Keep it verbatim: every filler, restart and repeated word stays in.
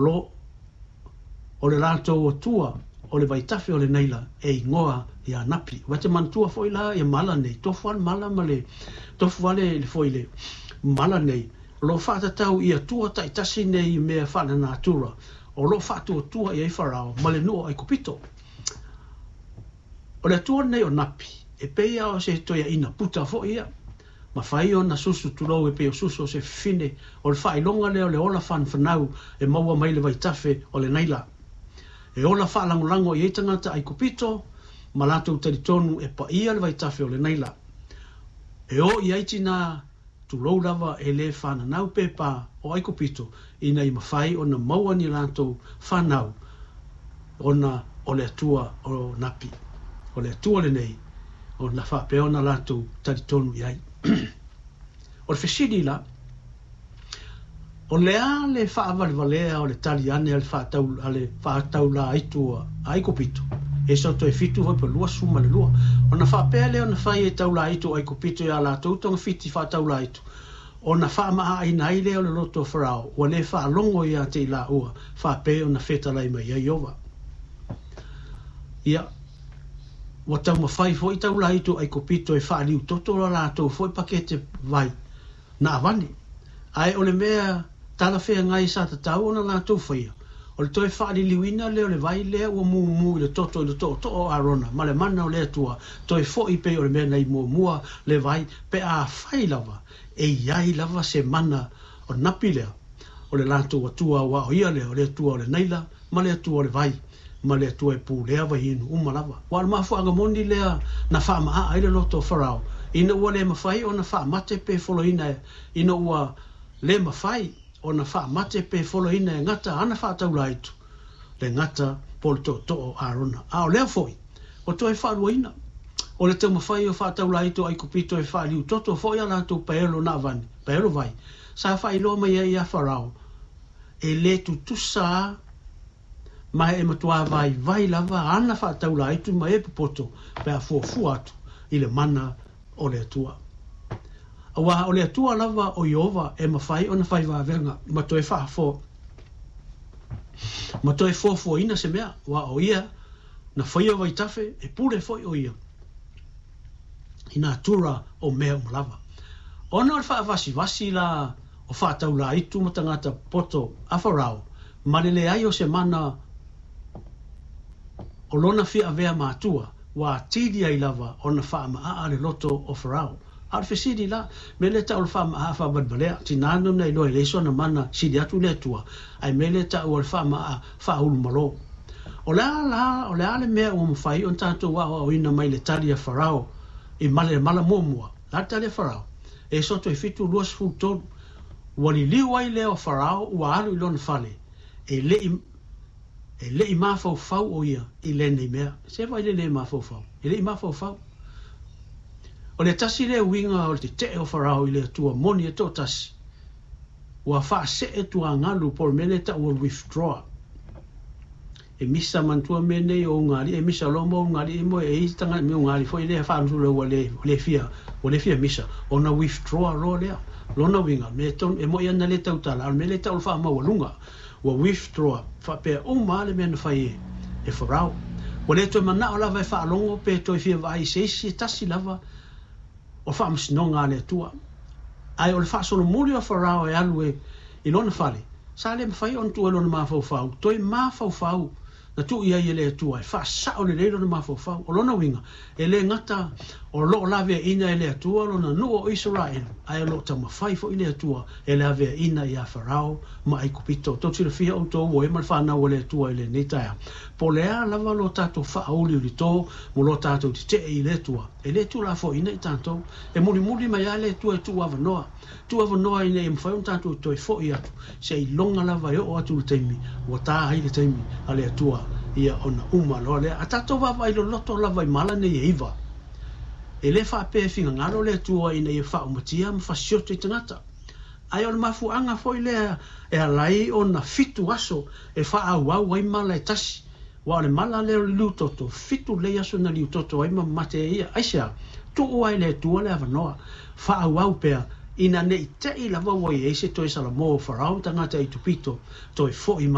lo o le latou Atua o le vaitafe o le Naila e igoa ia Napi. Ua te manatua foi la ia mala nei, tofu lava le mala ma le tofu lava le le foi le mala nei, o lo o faatatau i Atua taitasi nei i mea faalenatura o lo o faatuatua i ai Farao ma le nuu o Aikupito. O le Atua lenei o Napi, e pei lava o se toeaina puta foi ia, ma fai ona susu tulou e pei o susu o se fafine, o le faailoga lea o le ola fanfanau e maua mai le vaitafe o le Naila. E ola faalagolago i ai tagata Aikupito ma latou talitonu e paia le vaitafe o le Naila. E o i ai tinā, tulou lava e le fananau pepa o Aikupito ina ia mafai ona maua ni latou fanau ona o le Atua o Napi. O le Atua lenei ona faapea ona latou talitonu i ai. O le fesili la, o le a le faavalevalea o le tali ane a le faatau, a le faataulaitu a Aikupito? E soto e fitu foi pa lua ma le lua. Ona faapea lea ona fai e taulaitu o Aikupito ia latou togafiti faataulaitu. Ona faamaaaina ai lea o le loto o Farao, ua le faalogo ia te i laua, faapea ona fetalai mai ai Ieova. Ia, ua taumafai foi taulaitu o Aikupito e faaliutoto la latou foi pakete vai na avane. Ae o le mea talafeagai sa tatau ona latou faia, o le toe faaliliuina lea o le vai lea ua mumu i le toto i le tootoo o Arona ma le mana o le Atua, toe foi pei o le mea nei muamua le vai, pe a fai lava e iai lava se mana o Napi lea, o le latou Atua aua o ia lea o le Atua o le Naila ma le Atua o le vai ma le Atua e pulea vaiinu uma lava. Ua o le mafuaaga moni lea na faamaaa ai le loto o Farao, ina ua le mafai ona faamate pe foloina, ina ua le mafai ona faamate pe foloina e gata ana faataulaitu le gata po le tootoo o Arona. A o lea foi, o toe faaluaina o le taumafai o faataulaitu o Aikupito e faaliutoto foi a latou paelo na avane, paelo vai, sa faailoa mai ai ia Farao, e le tutusa ma e matua vaivai lava ana faataulaitu ma e popoto pe a fuafua atu i le mana o le Atua. Aua o le Atua lava o Ieova e mafai ona fai vavega ma toe faafo ma toe fuafuaina se mea, ua o ia na faia vaitafe e pule foi o ia i natura o mea uma lava. Ona o le faavasivasi la o faataulaitu ma tagata poto a Farao, ma le leai o se mana o lona fia avea matua, ua atili ai lava ona faamaa le loto o Farao. A o le fesili la, me le tau o le faamaa faavalevalea, tinā na iloa e leai sona mana sili atu le Atua, ae me le tau o le faamaa faaulumalo. O le a la, o le a le mea ua mafai ona tatou aoaoina mai le tali a Farao i male mala muamua. La le tali a Farao, e soto e fitu lua tolu, ua liliu ai lea o Farao ua alu i lona fale, e lei e lei mafaufau o ia i lenei mea. Se vai le le mafaufau, e lei mafaufau. O le tasi lea uiga o le tetee o Farao i le Atua moni e toatasi, ua faasee tuagalu po o le mea lea e taua withdraw. E misa manatua mea nei o ugalii, e misa loa mo ugalii mo e i tagata me ugalii foi lea faanusula ua le, le fia, ua le fia misa, ona withdraw loa lea. Lona uiga, me tonu, e moi ana le tautala, a o le mea lea e tau o le faamaualuga, ua withdraw, faapea uma lava le mea na fai e, e Farao. Ua le toe manao lava e faalogo pe toe fia vaai i se isi e tasi lava o faamasinoga a le Atua. Ae o le faasolomuli o Farao e alu e i lona fale, sa le mafai ona tuu ai lona mafaufau, toe mafaufau na tuu i ai e le Atua e faasao lelei lona mafaufau. O lona uiga, e le gata o loo laveaina e le Atua lona nuu o Isaraelu, ae o loo taumafai foi le Atua e laveaina ia Farao ma Aikupito. Tou silafia outou ua e ma le fanau a le Atua i lenei taeao. Po o le a lava lo tatou faauliulito mo lo tatou tetee i le Atua, e le tuulafoaiina i tatou. E mulimuli mai lava le Atua e tuu avanoa, tuu avanoa ina ia mafai ona tatou toe foi atu, seiloga lava e oo atu le taimi ua ta ai le taimi a le Atua ia ona uma loa lea. A tatou vaavaai loloto lava i mala nei e iva, e le faapea e finagalo le Atua ina ia faaumatia ma fasioto i tagata. Ae o le mafuaaga foi lea e ala ai ona fitu aso e faaauau ai mala e tasi. Ua o le mala lea o le liutoto, fitu lelei aso na liutoto ai ma mamate ai ia. Aisea? Tuu ai le Atua le avanoa, faaauau pea, ina ne i te i lava ua i ai se toe salamo o Farao ma tagata Aikupito, toe foi mai.